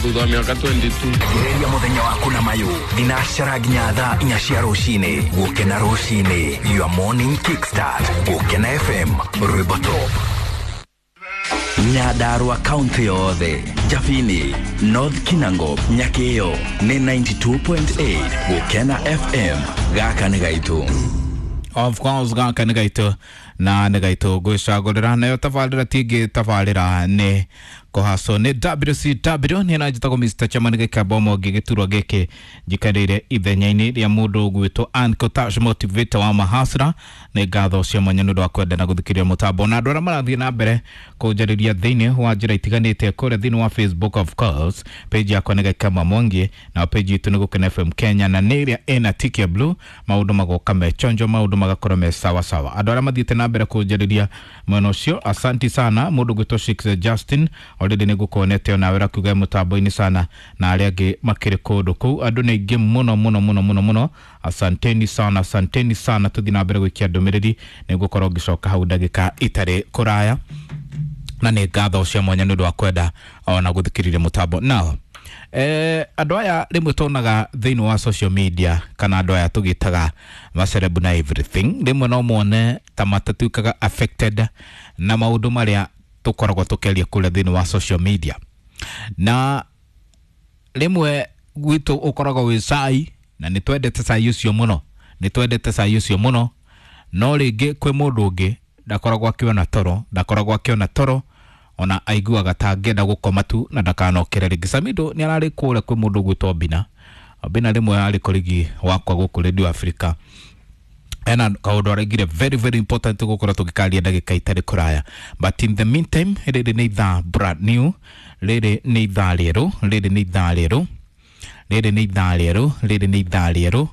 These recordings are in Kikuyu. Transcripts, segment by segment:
Thutha wa mĩaka 22. Gereria muthenya waku na mayu thinacara nginya thaa 4 cia rucini. Gukena rucini, your morning kickstart. Gukena FM, rwimbo top. Nyandarua kaunti yothe, Jabini, North Kinango, Nyakio ni 92.8 Gukena FM. Gaka nĩ gaitũ. Of course, gaka nĩ gaitũ na nĩ gaitũ ngwĩcagũrĩra nayo tabarĩra tingĩ tabarĩra nĩ kũhacwo nĩ WCW nĩ na njĩtagwo Mr. Chairman gĩkamba ũmwe gĩturwa gĩkĩ njikarĩire ithenya-inĩ rĩa mũndũ ũgwĩtwo Ann Kotash, motivator wa mahasra. Nĩ ngatho cia mwanya nĩ ũndũ wa kwenda na gũthikĩrĩria mũtambo na andũ arĩa marathiĩ na mbere kũnjarĩria thĩinĩ wa njĩra itiganĩte kũrĩa thĩinĩ wa Facebook. Of course, page yakwa nĩ Gakama Mwangi na page itũ nĩ Gũkena FM Kenya, na nĩ ĩrĩa ĩna tiki ya blue. Maũndũ magoka me chonjo, maũndũ magakorwo me sawa sawa. Andũ arĩa mathiĩte na mbere kũnjarĩria mwena ũcio, asanti sana. Mũndũ gwĩtwo Shix Justin, already nĩ ngũkuonete onawe rakuga mũtambo-inĩ sana, na arĩa angĩ makĩrĩ kũndũ kũu. Andũ nĩ aingĩ mũno mũno mũno mũno mũno. Asanteni sana, asanteni sana. Tũthiĩ na mbere gũikia ndũmĩrĩri, nĩ ngũkorwo ngĩcoka hau ndagĩka itarĩ kũraya, na nĩ ngatho cia mwanya nĩ ũndũ wa kwenda ona gũthikĩrĩria mũtambo. Now, andũ aya rĩmwe tuonaga thĩinĩ wa social media, kana andũ aya tũgĩtaga macerebu na everything, rĩmwe no mone ta matatuĩkaga affected na maũndũ marĩa tũkoragwo tũkĩaria kũrĩa thĩinĩ wa social media. Na rĩmwe gwitũ ũkoragwo wĩ cai, na nĩ twendete cai ũcio mũno, nĩ twendete cai ũcio mũno, no rĩngĩ kwĩ mũndũ ũngĩ ndakoragwo akĩona toro, ndakoragwo akĩona toro, ona aiguaga ta angĩenda gũkoma tu na ndakanokĩre rĩngĩ. Samido nĩ ararĩ kũrĩa kwĩ mũndũ ũgwĩtwo Bina. Bina rĩmwe arĩ kũrigi wakwa gũkũ Radio Africa, ena kaũndũ araigire very very important gũkorwo tũgĩkaria ndagĩka itarĩ kũraya. But in the meantime, rĩrĩ nĩ ithaa brand new, rĩrĩ nĩ ithaa rĩerũ, rĩrĩ nĩ ithaa rĩerũ, rĩrĩ nĩ ithaa rĩerũ, rĩrĩ nĩ ithaa rĩerũ,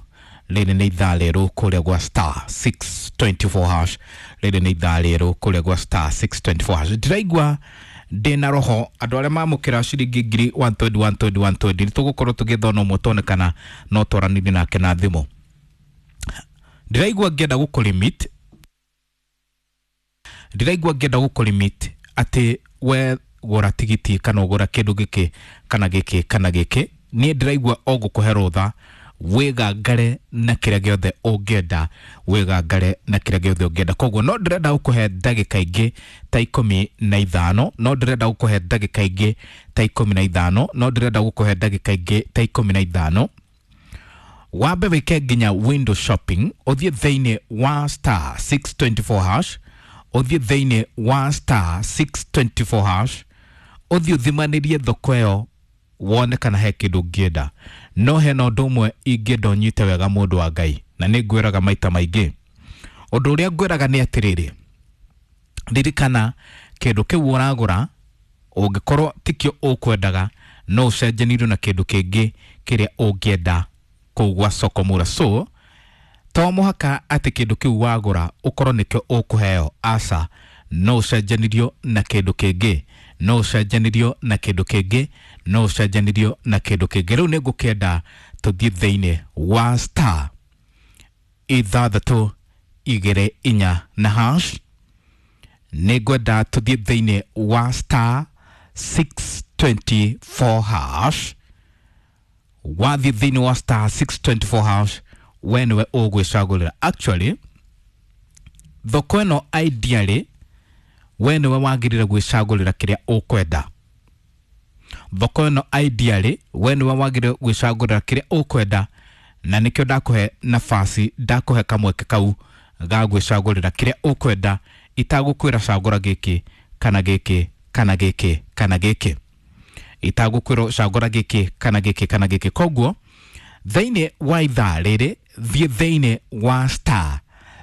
rĩrĩ nĩ ithaa rĩerũ kũrĩa gwa star 624 hash. Rĩrĩ nĩ ithaa rĩerũ kũrĩa gwa star 624 hash. Ndĩraigua ndĩna roho andũ arĩa mamũkĩra ciringi ngiri 120 120 120, nĩ tũgũkorwo tũgĩthona ũmwe tuone kana no twaranĩrie nake na thimũ. Ndĩraigua ngĩenda gũkũlimit, ndĩraigua ngĩenda gũkũlimit atĩ we gũra tigiti kana ũgũra kĩndũ gĩkĩ kana gĩkĩ kana gĩkĩ. Niĩ ndĩraigua o gũkũhe rũtha wĩgangare na kĩrĩa gĩothe ũngĩenda, wĩgangare na kĩrĩa gĩothe ũngĩenda. Koguo no ndĩrenda gũkũhe ndagĩka ingĩ ta 15, no ndĩrenda gũkũhe ndagĩka ingĩ ta 15, no ndĩrenda gũkũhe ndagĩka ingĩ ta 15, wambe wĩke nginya window shopping. Ũthiĩ thĩinĩ wa star 624 hash, ũthiĩ thĩinĩ wa star 624 hash, ũthiĩ ũthimanĩrie thoko ĩyo wone kana he kĩndũ ũngĩenda. No hena ũndũ ũmwe ingĩenda ũnyite wega, mũndũ wa Ngai, na nĩ ngwĩraga maita maingĩ. Ũndũ ũrĩa ngwĩraga nĩ atĩrĩrĩ, ririkana kĩndũ kĩu ũragũra ũngĩkorwo tikĩo ũkwendaga, no ũcenjanĩrio na kĩndũ kĩngĩ kĩrĩa ũngĩenda kũu gwa soko mura. So to mũhaka atĩ kĩndũ kĩu wagũra ũkorwo nĩkĩo ũkũheo, aca. No ũcenjanĩrio na kĩndũ kĩngĩ, no ũcenjanĩrio na kĩndũ kĩngĩ, no ũcenjanĩrio na kĩndũ kĩngĩ. Rĩu nĩ ngũkĩenda tũthiĩ thĩinĩ wa star 624 na hash. Nĩ ngwenda tũthiĩ thĩinĩ wa star 624 hash. Wathiĩ thĩinĩ wa star 624 hash, we nĩwe ũgwĩcagũrĩra. Actually, thoko ĩno ideally we nĩwe wagĩrĩire gwĩcagũrĩra kĩrĩa ũkwenda. Thoko ĩno ideally we nĩwe wagĩrĩire gwĩcagũrĩra kĩrĩa ũkwenda, na nĩkĩo ndakũhe nafasi, ndakũhe kamweke kau ga gwĩcagũrĩra kĩrĩa ũkwenda, itagũkwĩra cagũra gĩkĩ kana gĩkĩ kana gĩkĩ kana gĩkĩ, itagũkwĩra cagũra gĩkĩ kana gĩkĩ kana gĩkĩ. Koguo thĩinĩ wa ithaa rĩrĩ, thiĩ thĩinĩ wa star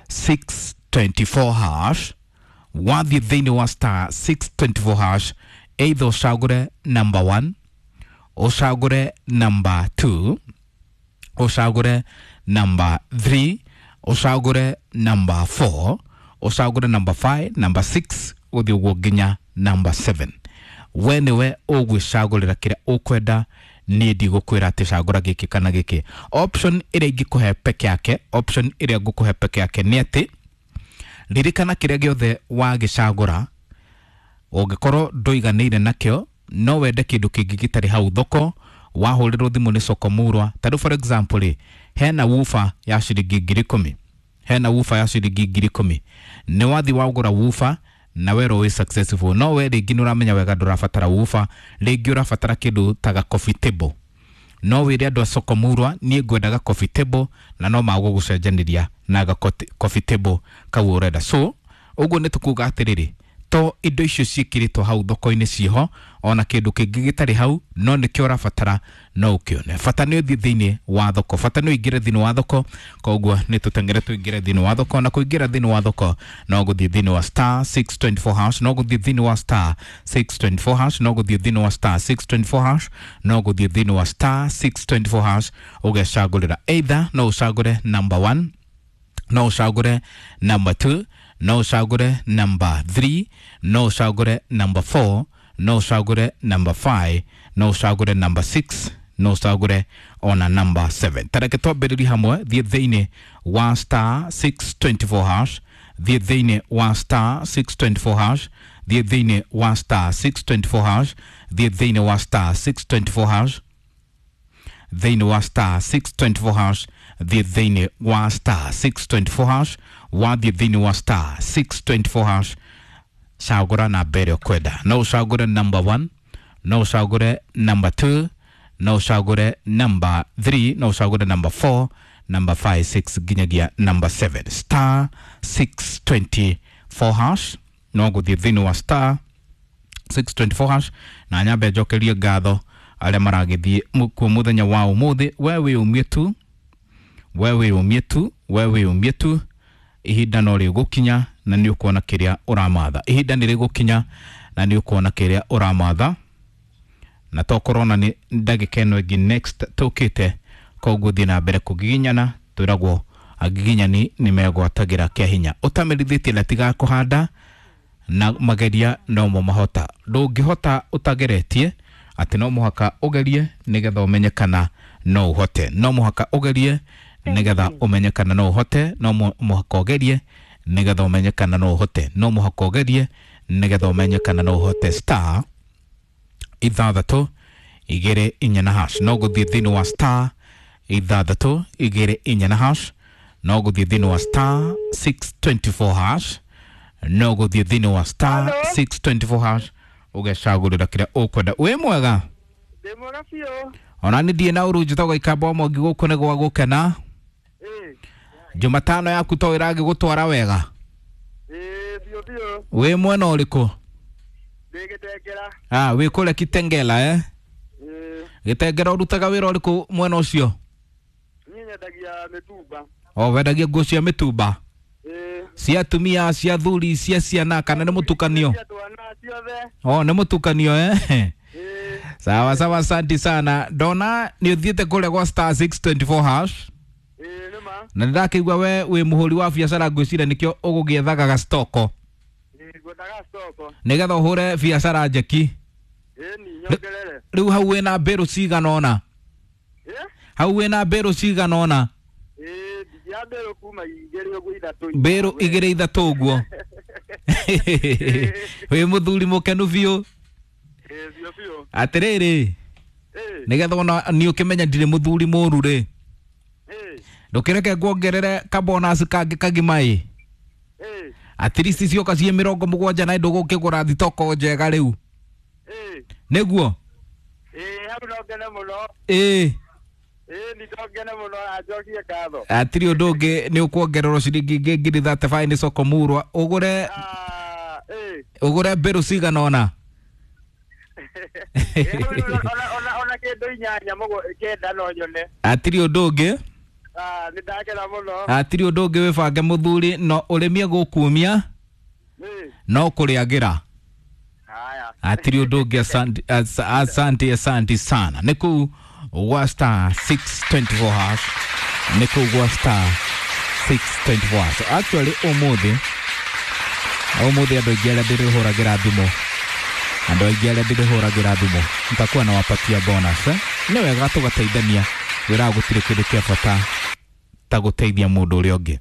624 hash. Wathiĩ thĩinĩ wa star 624 hash, either ũcagũre number 1, ũcagũre number 2, ũcagũre number 3, ũcagũre number 4, ũcagũre number 5, number 6, ũthiĩ ũguo nginya number 7. We nĩwe ũgwĩcagũrĩra kĩrĩa ũkwenda. Niĩ ndigũkwĩra atĩ cagũra gĩkĩ kana gĩkĩ. Option ĩrĩa ingĩkũhe peke yake, option ĩrĩa ngũkũhe peke yake nĩ atĩ ririkana kĩrĩa gĩothe wagĩcagũra, ũngĩkorwo ndũiganĩire nakĩo, No wende kĩndũ kĩngĩ gĩtarĩ hau thoko, wahũrĩrwo thimũ nĩ soko murwa. Ta rĩu for example rĩ, hena woofer ya ciringi 10,000, hena woofer ya ciringi 10,000. Nĩ wathi wagũra woofer na werwo wĩ successful, no we rĩngĩ nĩ ũramenya wega ndũrabatara woofer, rĩngĩ ũrabatara kĩndũ ta ga coffee table. No wĩre andũ a soko murwa niĩ ngwendaga coffee table, na no magũgũcenjanĩria na ga coffee table kau ũrenda. So ũguo nĩ tũkuga atĩrĩrĩ, to indo icio ciĩkĩrĩtwo hau thoko-inĩ ciĩho, ona kĩndũ kĩngĩ gĩtarĩ hau no nĩkĩo ũrabatara no ũkĩone. Bata nĩ ũthiĩ thĩinĩ wa thoko, bata nĩ ũingĩre thĩinĩ wa thoko. Koguo nĩ tũteng'ere tũingĩre thĩinĩ wa thoko, na kũingĩra thĩinĩ wa thoko no gũthiĩ thĩinĩ wa star 624 hash, no gũthiĩ thĩinĩ wa star 624 hash, no gũthiĩ thĩinĩ wa star 624 hash, no gũthiĩ thĩinĩ wa star 624 hash ũgecagũrĩra. Either no ũcagũre number 1, no ũcagũre number 2, no ũcagũre number 3, no ũcagũre number 4, no ũcagũre number 5, no ũcagũre number 6, no ũcagũre ona number 7. Tareke twambĩrĩrie hamwe. Thiĩ thĩinĩ wa star 624 hash, thiĩ thĩinĩ wa star 624 hash, thiĩ thĩinĩ wa star 624 hash, thiĩ thĩinĩ wa star 624 hash, thĩinĩ wa star 624 hash, thiĩ thĩinĩ wa star 624 hash. Wathiĩ thĩinĩ wa star 624 hash, cagũra namba ĩrĩa ũkwenda. No ũcagũre number 1, no ũcagũre number 2, no ũcagũre number 3, no ũcagũre number 4, number 5, 6 nginyagia number 7. Star 624 hash, no gũthiĩ thĩinĩ wa star 624 hash. Na nyambe njokerie ngatho arĩa maragĩthiĩ kuo mũthenya wa ũmũthĩ. We wĩyũmie tu, we wĩyũmie tu, we wĩyũmie tu, ihinda no rĩgũkinya na nĩ ũkuona kĩrĩa ũramatha. Ihinda nĩ rĩgũkinya na nĩ ũkuona kĩrĩa ũramatha, na tokorwo na nĩ ndagĩka ĩno ĩngĩ next tũkĩte. Koguo thiĩ na mbere kũgiginyana, twĩragwo agiginyani nĩ megwatagĩra kĩa hinya. Ũtamerithĩtie na tiga kũhanda na mageria nomo mahota. Ndũngĩhota ũtageretie, atĩ no mũhaka ũgerie nĩgetha ũmenye kana no ũhote. No mũhaka ũgerie nĩgetha ũmenye kana no ũhote. No mũhaka ũgerie nĩgetha ũmenye kana no ũhote. No mũhaka ũgerie nĩgetha ũmenye kana no ũhote. Star 624 na hash, no gũthiĩ thĩinĩ wa star 624 na hash, no gũthiĩ thĩinĩ wa star 624 hash, no gũthiĩ thĩinĩ wa star 624 hash ũgecagũrĩra kĩrĩa ũkwenda. Wĩ mwega? Ndĩ mwega biũ. Ona nĩ ndiĩ na ũru, njĩtagwo Ikamba Mwangi, gũkũ nĩ gwa gũkena. Jumatano yaku to ĩragĩgũtwara wega? Ĩĩ, biũ biũ. Wĩ mwena ũrĩkũ? Ndĩ Gĩtengera. Ah, wĩ kũrĩa Kitengela, eh? Ĩĩ. Gĩtengera ũrutaga wĩra ũrĩkũ mwena ũcio? Niĩ nyendagia mĩtumba. O wendagia nguo cia mĩtumba? Ĩĩ. Cia atumia, cia thuri, cia ciana, kana nĩ mũtukanio? Cia twana ciothe. O nĩ mũtukanio, eh? Ĩĩ. Sawa sawa, asanti sana. Ndona nĩ ũthiĩte kũrĩa gwa star 624 hash. Ĩĩ, nĩ ma. Na nĩndakĩigua we wĩ mũhũri wa biacara, ngwĩciria nĩkĩo ũgũgĩethaga gastoko. Ĩĩ, ngwendaga stoko. Nĩgetha ũhũre biacara njeki. Ĩĩ, ni nyongerere. Rĩu hau wĩna mbĩrũ cigana ũna? Ĩĩ? Hau wĩna mbĩrũ cigana ũna? Ĩĩ, ndingĩaga mbĩrũ kuma 2 ũguo 3. Mbĩrũ 2 3 ũguo. Wĩ mũthuri mũkenu biũ. Ĩĩ, biũ biũ. Atĩrĩrĩ, Ĩĩ. nĩgetha ona niĩ ũkĩmenya ndirĩ mũthuri mũru rĩ, Ĩĩ. ndũkĩreke nguongerere kabonus kangĩ kagima ĩ. Ĩĩ. At least cioka ciĩ 70 na ndũgũkĩgũra thitoko njega rĩu. Ĩĩ. Nĩguo? Ĩĩ, hau no ngene mũno. Ĩĩ. Ĩĩ, ni no ngene mũno na njokie ngatho. Hatirĩ ũndũ ũngĩ, nĩ ũkuongererwo ciringi ingĩ 35,000 nĩ soko murwa ũgũre. Ah, ĩĩ. Ũgũre mbĩrũ cigana ũna. Ĩĩ, hau rĩu ona kĩndũ 8 9 no nyone. Hatirĩ ũndũ ũngĩ. Ah, nĩ ndakena mũno. Hatirĩ ũndũ ũngĩ, wĩbange mũthuri, no ũrĩmie gũkumia. Ĩĩ. No kũrĩagĩra. Haya. Hatirĩ ũndũ ũngĩ, asante, asante, asante sana. Nĩ kũu gwa star 624 hash, nĩ kũu gwa star 624 hash. Actually ũmũthĩ, ũmũthĩ andũ aingĩ arĩa ndĩrĩhũragĩra thimũ, andũ aingĩ arĩa ndĩrĩhũragĩra thimũ nitakuwa nawapatia bonus, eh? Nĩ wega tũgateithania wĩra, gũtirĩ kĩndũ kĩa bata ta gũteithia mũndũ ũrĩa ũngĩ.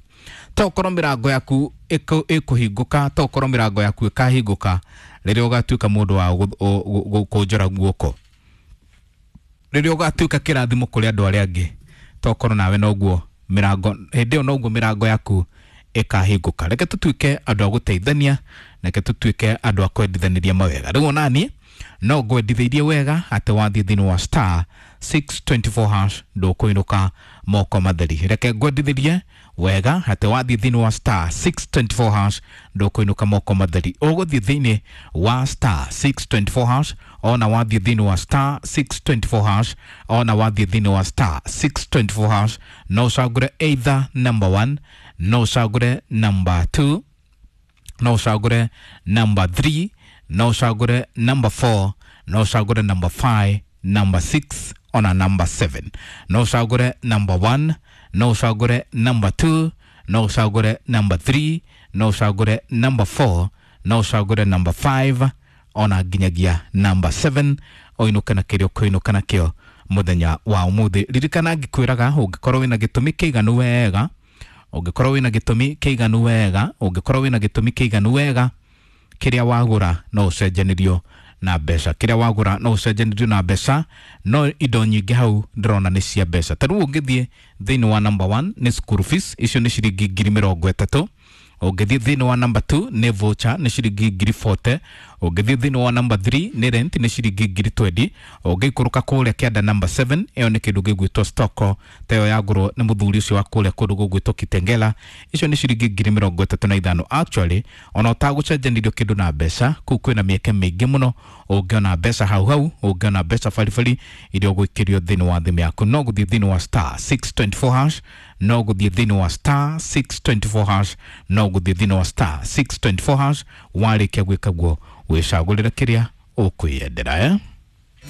Tokorwo mĩrango yaku ĩkũhingũka, tokorwo mĩrango yaku ĩkahingũka. Rĩrĩa ũgatuĩka mũndũ wa gũkũnjora guoko, rĩrĩa ũgatuĩka kĩrathimo kũrĩ andũ arĩa angĩ, tokorwo nawe noguo mĩrango hĩndĩ ĩyo noguo mĩrango yaku ĩkahingũka. Reke tũtuĩke andũ a gũteithania, reke tũtuĩke andũ a kwendithanĩria mawega. Rĩu onaniĩ no ngwendithĩirie wega atĩ wathiĩ thĩinĩ wa star 624 hash ndũkũinũka moko matheri. Reke ngwendithĩrie wega atĩ wathiĩ thĩinĩ wa star 624 hash ndũkũinũka moko matheri. Ũgũthiĩ thĩinĩ wa star 624 hash, ona wathiĩ thĩinĩ wa star 624 hash, ona wathiĩ thĩinĩ wa star 624 hash, no ũcagũre either number 1, no ũcagũre number 2, no ũcagũre number 3, no ũcagũre number 4, no ũcagũre number 5, number 6 ona number 7. No ũcagũre number 1, no ũcagũre number 2, no ũcagũre number 3, no ũcagũre number 4, no ũcagũre number 5 ona nginyagia number 7, ũinũke na kĩrĩa ũkũinũka nakĩo mũthenya wa ũmũthĩ. Ririkana ngĩkwĩraga ũngĩkorwo wĩna gĩtũmi kĩiganu wega, ũngĩkorwo wĩna gĩtũmi kĩiganu wega, ũngĩkorwo wĩna gĩtũmi kĩiganu wega, kĩrĩa wagũra no ũcenjanĩrio na mbeca, kĩrĩa wagũra no ũcenjanĩrio na mbeca. No indo nyingĩ hau ndĩrona nĩ cia mbeca. Ta rĩu ũngĩthiĩ thĩinĩ wa number 1 nĩ school fees, icio nĩ ciringi 30,000. Ũngĩthiĩ thĩinĩ wa number 2 nĩ voucher, nĩ ciringi 40,000. Ũngĩthiĩ thĩinĩ wa number 3 nĩ rent, nĩ ciringi 20,000. Ũngĩikũrũka kũrĩa kĩanda number 7, ĩyo nĩ kĩndũ gĩgwĩtwo stock, ta ĩyo yagũrwo nĩ mũthuri ũcio wa kũrĩa kũndũ gũgwĩtwo Kitengela, icio nĩ ciringi 35,000. Actually ona ũtagũcenjanĩrio kĩndũ na mbeca, kũu kwĩna mĩeke mĩingĩ mũno ũngĩona mbeca hau hau, ũngĩona mbeca baribari iria ũgũikĩrio thĩinĩ wa thimũ yaku. No gũthiĩ thĩinĩ wa star 624 hash, no gũthiĩ thĩinĩ wa star 624 hash, no gũthiĩ thĩinĩ wa star 624 hash. Warĩkia gwĩka guo wĩcagũrĩre kĩrĩa ũkwĩyendera, eh?